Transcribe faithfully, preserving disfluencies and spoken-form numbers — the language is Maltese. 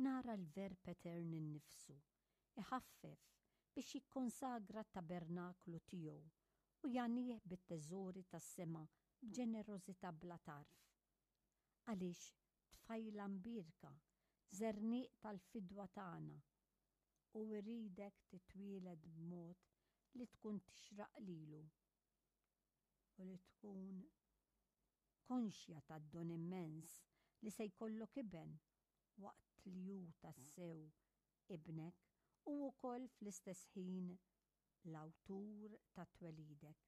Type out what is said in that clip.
Nara l-Verb Etern innifsu iħaffef biex jikkonsagra t-tabernaklu tiegħu u jagħnih bit-teżori tas-sema b'ġenerożità bla tarf. Għaliex tfajla mbierka, żerniq tal-fidwa tagħna, u jridek titwieled b'mod li tkun tixraq lilu u li tkun konxja tad-don immens li se jkollok iben waqt li hu tassew ibnek u wkoll fl-istess ħin l-awtur ta' twelidek.